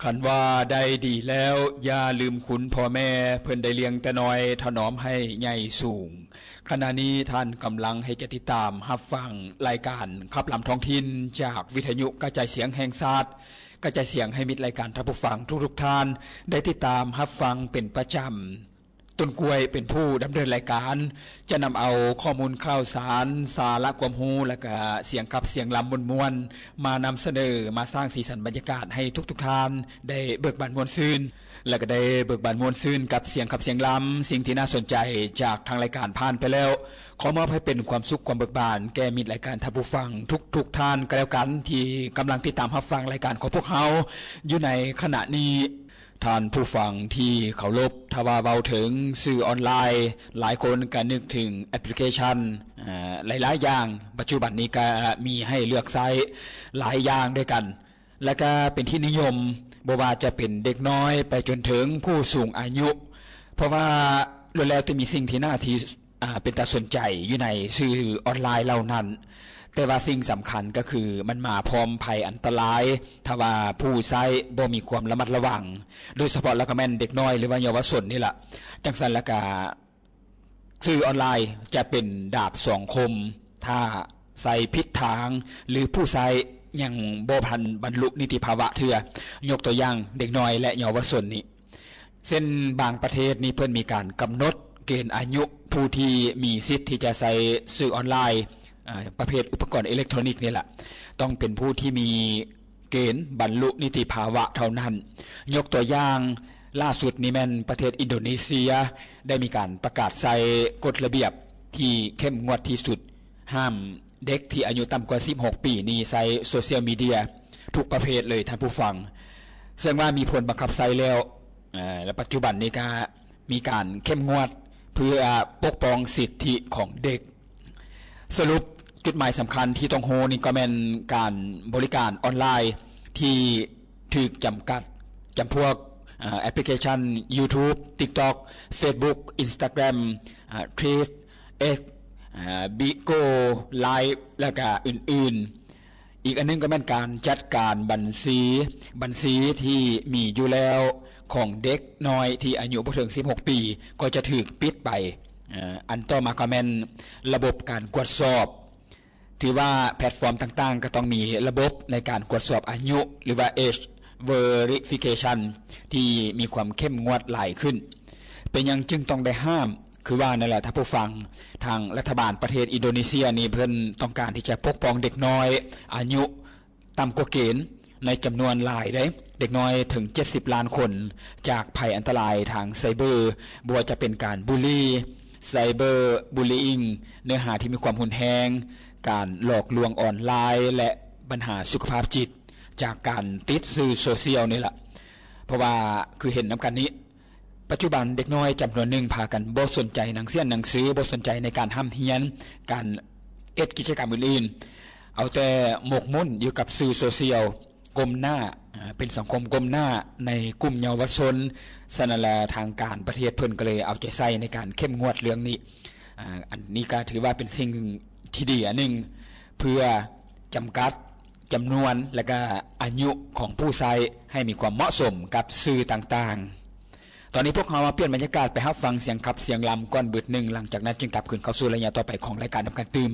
ຄັນວ່າໄດ້ດີແລ້ວ ຢ່າລືມຄຸນພໍ່ແມ່ ເພິ່ນໄດ້ລ້ຽງແຕ່ນ້ອຍ ຖະໜອມໃຫ້ໃຫຍ່ສູງ. ຂະນະນີ້ທ່ານກຳລັງໃຫ້ກຽດຕິດຕາມຮັບຟັງລາຍການຂັບລຳທ້ອງຖິ່ນ ຈາກວິທະຍຸກະຈາຍສຽງແຫ່ງຊາດ, ກະຈາຍສຽງໃຫ້ມິດລາຍການທ່ານຜູ້ຟັງທຸກໆທ່ານ ໄດ້ຕິດຕາມຮັບຟັງເປັນປະຈຳ. ຕົ້ນກ້ວຍເປັນຜູ້ດຳເນີນລາຍການ ຈະນຳເອົາຂໍ້ມູນຂ່າວສານ, ສາລະຄວາມຮູ້ ແລະກະສຽງຂັບສຽງລຳມ່ວນໆ ມານຳສະເໜີ, ມາສ້າງສີສັນບັນຍາກາດໃຫ້ທຸກໆທ່ານໄດ້ເບີກບານມ່ວນຊື່ນ ແລະກະໄດ້ເບີກບານມ່ວນຊື່ນກັບສຽງຂັບສຽງລຳ. ສິ່ງທີ່ໜ້າສົນໃຈຈາກທາງລາຍການຜ່ານໄປແລ້ວ ຂໍມອບໃຫ້ເປັນຄວາມສຸກຄວາມເບີກບານແກ່ມິດລາຍການທ່ານຜູ້ຟັງທຸກໆທ່ານກໍແລ້ວກັນ ທີ່ກຳລັງຕິດຕາມຮັບຟັງລາຍການຂອງພວກເຮົາຢູ່ໃນຂະນະນີ້. ທ່ານຜູ້ຟັງທີ່ເຄົາລົບ, ຖ້າວ່າເວົ້າເຖິງສື່ອອນລາຍ, ຫຼາຍຄົນກໍນຶກເຖິງແອັບພລິເຄຊັນ ເອີ ຫຼາຍໆຢ່າງ. ປັດຈຸບັນນີ້ກໍມີໃຫ້ເລືອກໃຊ້ຫຼາຍຢ່າງດ້ວຍກັນ ແລະກະເປັນທີ່ນິຍົມ, ບໍ່ວ່າຈະເປັນເດັກນ້ອຍໄປຈົນເຖິງຜູ້ສູງອາຍຸ, ເພາະວ່າລ້ວນແລ້ວແຕ່ມີສິ່ງທີ່ໜ້າທີ່ ອາ ເປັນຕາສົນໃຈຢູ່ໃນສື່ອອນລາຍເຫຼົ່ານັ້ນ. ແຕ່ວ່າສິ່ງສຳຄັນກໍຄືມັນມາພ້ອມໄພອັນຕະລາຍ ຖ້າວ່າຜູ້ໃຊ້ບໍ່ມີຄວາມລະມັດລະວັງ, ໂດຍສະເພາະແລ້ວກໍແມ່ນເດັກນ້ອຍ ຫຼືວ່າເຍົາວະຊົນນີ້ລະ. ຈັ່ງຊັ້ນແລ້ວກະສື່ອອນລາຍຈະເປັນດາບສອງຄົມ ຖ້າໃຊ້ຜິດທາງ ຫຼືຜູ້ໃຊ້ຍັງບໍ່ທັນບັນລຸນິຕິພາວະເທື່ອ. ຍົກຕົວຢ່າງເດັກນ້ອຍ ແລະ ເຍົາວະຊົນນີ້ ເຊັ່ນບາງປະເທດນີ້ເພິ່ນມີການກຳນົດເກນອາຍຸຜູ້ທີ່ມີສິດທີ່ຈະໃຊ້ສື່ອອນລາຍ ອາ ປະເພດອຸປະກອນເອເລັກໂທຣນິກນີ້ລະ ຕ້ອງເປັນຜູ້ທີ່ມີເກນບັນລຸນິຕິພາວະເທົ່ານັ້ນ. ຍົກຕົວຢ່າງລ່າສຸດນີ້ແມ່ນປະເທດອິນໂດເນເຊຍ ໄດ້ມີການປະກາດໃຊ້ກົດລະບຽບທີ່ເຂັ້ມງວດທີ່ສຸດ ຫ້າມເດັກທີ່ອາຍຸຕ່ຳກວ່າສິບຫົກປີນີ້ໃຊ້ໂຊຊຽວມີເດຍທຸກປະເພດເລີຍທ່ານຜູ້ຟັງ. ເຊິ່ງວ່າມີຜົນບັງຄັບໃຊ້ແລ້ວ ເອີ ແລະ ປັດຈຸບັນນີ້ກະມີການເຂັ້ມງວດເພື່ອປົກປ້ອງສິດທິຂອງເດັກ. ສະຫຼຸບຈຸດໝາຍສຳຄັນທີ່ຕ້ອງຮູ້ນີ້ກໍແມ່ນການບໍລິການອອນລາຍທີ່ຖືກຈຳກັດ ຈຳພວກ ອາ ແອັບພລິເຄຊັນ ຢູທູບ, ຕິກຕັອກ, ເຟສບຸກ, ອິນສະຕາແກຣມ, ອາ ທຣີດ, ເອັກ, ອາ ບິໂກ້, ລາຍ ແລະກະອື່ນໆ. ອີກອັນໜຶ່ງກໍແມ່ນການຈັດການບັນຊີ, ບັນຊີທີ່ມີຢູ່ແລ້ວຂອງເດັກນ້ອຍທີ່ອາຍຸບໍ່ເຖິງສິບຫົກປີ ກໍຈະຖືກປິດໄປ. ເອີ ອັນຕໍ່ມາກໍແມ່ນລະບົບການກວດສອບ. ຖືວ່າແພລດຟອມຕ່າງໆກໍຕ້ອງມີລະບົບໃນການກວດສອບອາຍຸ ຫຼືວ່າ ເອຈ ເວຣິຟິເຄຊັນ ທີ່ມີຄວາມເຂັ້ມງວດຫຼາຍຂຶ້ນ. ເປັນຫຍັງຈຶ່ງຕ້ອງໄດ້ຫ້າມ? ຄືວ່ານັ້ນແຫຼະທ່ານຜູ້ຟັງ, ທາງລັດຖະບານປະເທດອິນໂດເນເຊຍນີ້ເພິ່ນຕ້ອງການທີ່ຈະປົກປ້ອງເດັກນ້ອຍອາຍຸຕ່ຳກວ່າເກນໃນຈຳນວນຫຼາຍເດ້, ເດັກນ້ອຍເຖິງເຈັດສິບລ້ານຄົນ ຈາກໄພອັນຕະລາຍທາງໄຊເບີ, ບໍ່ວ່າຈະເປັນການບູລີ, ໄຊເບີບູລີອິງ, ເນື້ອຫາທີ່ມີຄວາມຮຸນແຮງ, ການຫຼອກລວງອອນລາຍ ແລະ ບັນຫາສຸຂະພາບຈິດຈາກການຕິດສື່ໂຊຊຽວນີ້ລະ. ເພາະວ່າຄືເຫັນນຳກັນນີ້, ປັດຈຸບັນເດັກນ້ອຍຈຳນວນໜຶ່ງພາກັນບໍ່ສົນໃຈໜັງສຽນໜັງສື, ບໍ່ສົນໃຈໃນການຮ່ຳຮຽນ, ການເຮັດກິດຈະກຳອື່ນໆ, ເອົາແຕ່ໝົກໝຸ່ນຢູ່ກັບສື່ໂຊຊຽວ, ກົ້ມໜ້າ, ເປັນສັງຄົມກົ້ມໜ້າໃນກຸ່ມເຍົາວະຊົນ. ສະນັ້ນລະ ທາງການປະເທດເພິ່ນກໍເລີຍເອົາໃຈໃສ່ໃນການເຂັ້ມງວດເລື່ອງນີ້. ອັນນີ້ກໍຖືວ່າເປັນສິ່ງທີ່ດີອັນໜຶ່ງ ເພື່ອຈຳກັດ ຈຳນວນ ແລະກະອາຍຸຂອງຜູ້ໃຊ້ໃຫ້ມີຄວາມເໝາະສົມກັບສື່ຕ່າງໆ. ຕອນນີ້ພວກເຮົາມາປ່ຽນບັນຍາກາດໄປຮັບຟັງສຽງຂັບສຽງລຳກ່ອນບຶດໜຶ່ງ, ຫຼັງຈາກນັ້ນຈຶ່ງກັບຄືນເຂົ້າສູ່ໄລຍະຕໍ່ໄປຂອງລາຍການນຳກັນຕື່ມ.